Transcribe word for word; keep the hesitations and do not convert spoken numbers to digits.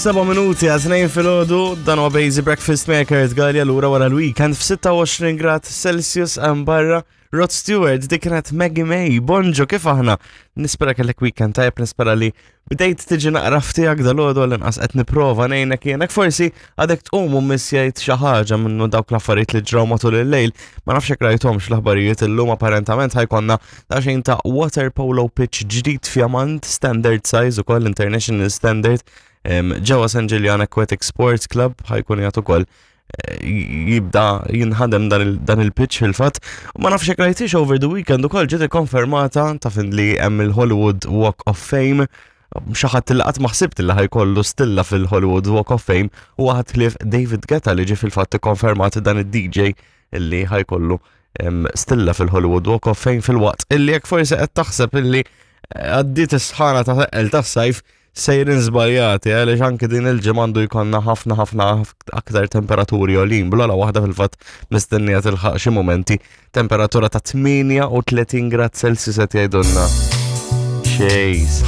Seba' minuti għal tnejn filgħodu, dan huwa Basic Breakfast Maker Gallia lura wara l-weekend f'sitta u għoxrin grad Celsius hemm barra. Rod Stewart, dik kienet Maggie May. Bonġo, kif aħna? Nispera kellek weekend tajjeb, nispera li bdejt tiġi naqra f'tiegħek dalgħodu, għall-inqas qed nipprova ngħinek jien. Forsi għadek tqum u missjajt xi ħaġa minnu dawk l-affarijiet li ġraw matul il-lejl. Ma nafx jekk rajthomx l-aħbarijiet illum, apparentament ħa jkollna daqsxejn ta' water polo pitch ġdid fjamant, standard size ukoll, international standard, ġewwa San Ġiljan Aquatic Sports Club ħa jkun jagħtu ukoll eh, jibda jinħadem dan il-pitch fil-fatt. U ma nafx jekk rajtix, over the weekend ukoll ġiet ikkonfermata ta' fin li hemm il-Hollywood Walk of Fame. Xi ħadd li qatt ma ħsibt li ħa jkollu stilla fil-Hollywood Walk of Fame u ħadd ħlief David Guetta, li ġi fil-fatt ikkonfermat dan id-D J illi ħa jkollu stilla fil-Hollywood Walk of Fame, fil-waqt illi jekk forsi qed taħseb illi għaddiet is-sħana ta' teqqel tas-sajf, sejrin żbaljati, għaliex anke din il-ġimgħa għandu jkollna ħafna ħafna aktar temperaturi għolin, bl-ogħla waħda fil-fatt mistennija tilħaq xi momenti temperatura ta' tmienja u tletin grad Celsius qed jgħidulna. Xejs.